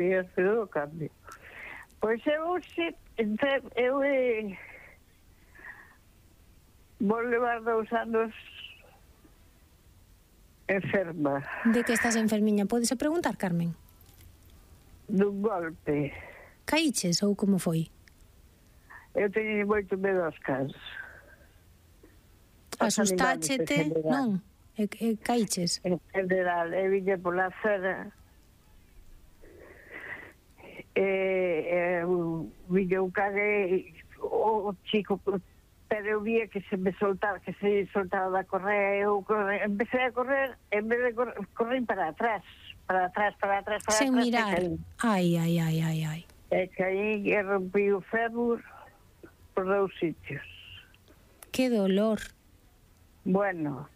o cambio. Pois eu vou levar 2 anos enferma. De que estás enfermiña? Pódese preguntar, Carmen? Dun golpe. Caíches ou como foi? Eu teño moito medo aos cans. Asustáchete? Non? Caíches? En general, eu viña pola acera viña un can o chico, pero eu vía que se me soltaba, da correa, eu empecé a correr, en vez de correr para atrás, sen mirar. Ai. E caí e rompí o fémur por 2 sitios. Que dolor. Bueno,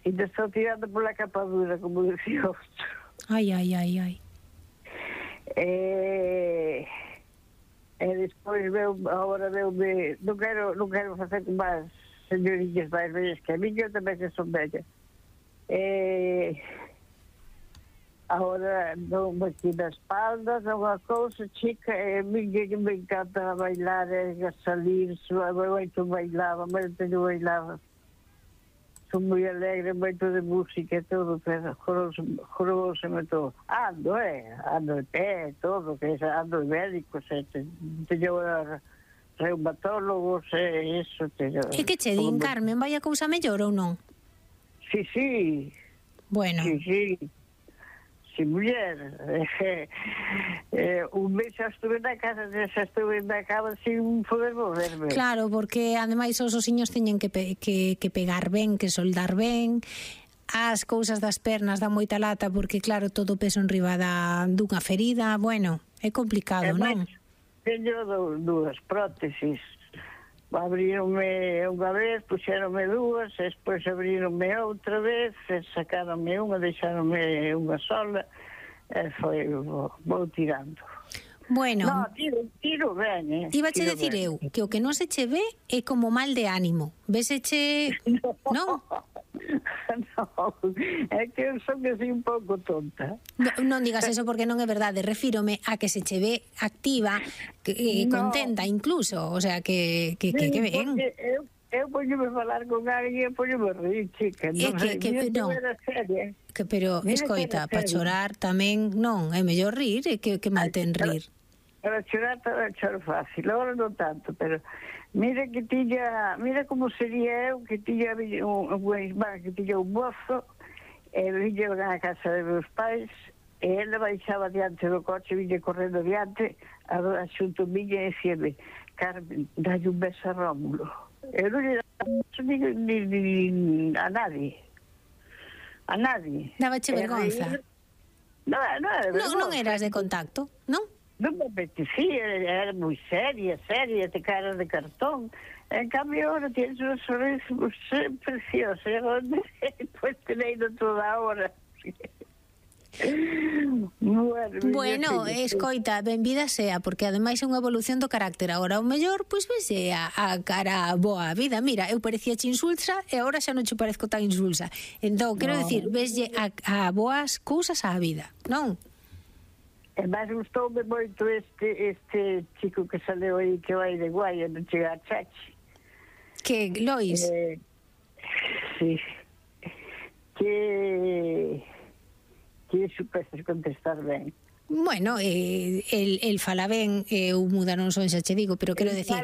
e te estou tirando pola capadura, como decía outro. Ai. E despois agora veume, non quero facer como as señorillas máis vellas que a mí, eu tamén que son vellas. Agora non me aquí na espalda, unha cousa chica, e a mí que me encanta bailar, a salir, moito bailaba, son moi alegre, moito de música e todo, pero jorouseme todo. Ando de pé, todo, que ando de médicos, teño reumatólogos, eso, teño... E que che din, Carmen, vai a cousa mellor ou non? Sí. Bueno. Sí, muller. Un mes xa estuve na casa sin poder moverme. Claro, porque ademais os osiños teñen que pegar ben, que soldar ben. As cousas das pernas dan moita lata porque, claro, todo o peso enriba dunha ferida. Bueno, é complicado, non? Teño 2 prótesis. Abrironme unha vez, puxeronme 2, despois abrironme outra vez, sacaronme unha, deixaronme unha sola, e foi, vou tirando. Bueno, no, tiro ben, Ibache decir eu, que o que non se che ve é como mal de ánimo. Véseche, non? No, é que eu son así un pouco tonta. Non digas eso porque non é verdade, refírome a que se che ve activa, contenta incluso, o sea, que ben. Eu poñome falar con alguén e poñome rir, chica. Pero, escoita, para chorar tamén non, é mellor rir, que mal ten rir. Para chorar choro fácil, agora non tanto, pero mira como sería eu que tiña unha irmán que tiña un mozo e viña na casa de meus pais e ela baixaba diante do coche, viña correndo diante xunto miña e dicíame: Carmen, dalle un beso a Rómulo. Eu non lle daba ni a nadie. Dabache vergonza? Non eras de contacto, non? Non me apetecía, era moi seria, de cara de cartón. En cambio, ahora tienes un sorriso precioso. Pues tenéis toda a hora. Bueno, escoita, benvida sea, porque ademais é unha evolución do carácter. Agora o mellor, pois vese a cara boa vida. Mira, eu parecía insulsa e agora xa non che parezco tan insulsa. Entón, quero dicir, veslle a boas cousas á vida, non? E máis gustoume moito este chico que saleu aí, que vai de Guaia, non chega a Chachi. Que, Lois? Sí. Que supestes contestar ben. Bueno, el fala ben, eu muda non son, xa che digo, pero quero decir,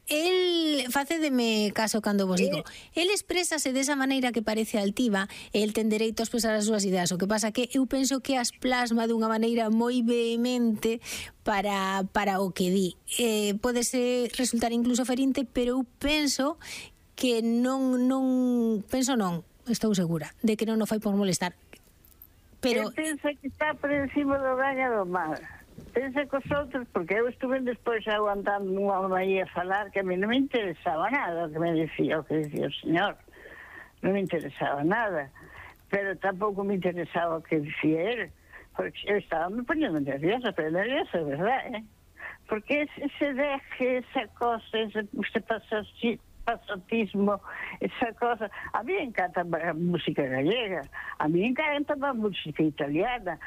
el facédeme caso cando vos digo, el exprésase desa maneira que parece altiva e el ten dereito a expresar as súas ideas. O que pasa que eu penso que as plasma dunha maneira moi vehemente para o que di. Podese resultar incluso ferinte, pero eu penso que estou segura de que non o fai por molestar. Pero pensa que está por encima do ben e do mal. Pensa cos outros, porque eu estuve despois aguantando unha maía a falar que a mí non me interesaba nada o que decía o señor. Non me interesaba nada. Pero tampouco me interesaba o que dicía él. Porque eu estaba me poñendo nerviosa, pero nerviosa, verdad, Porque ese deje, esa cosa, se pasa así, passatismo, essa cosa. A mim encanta a música gallega, a mim encanta a música italiana,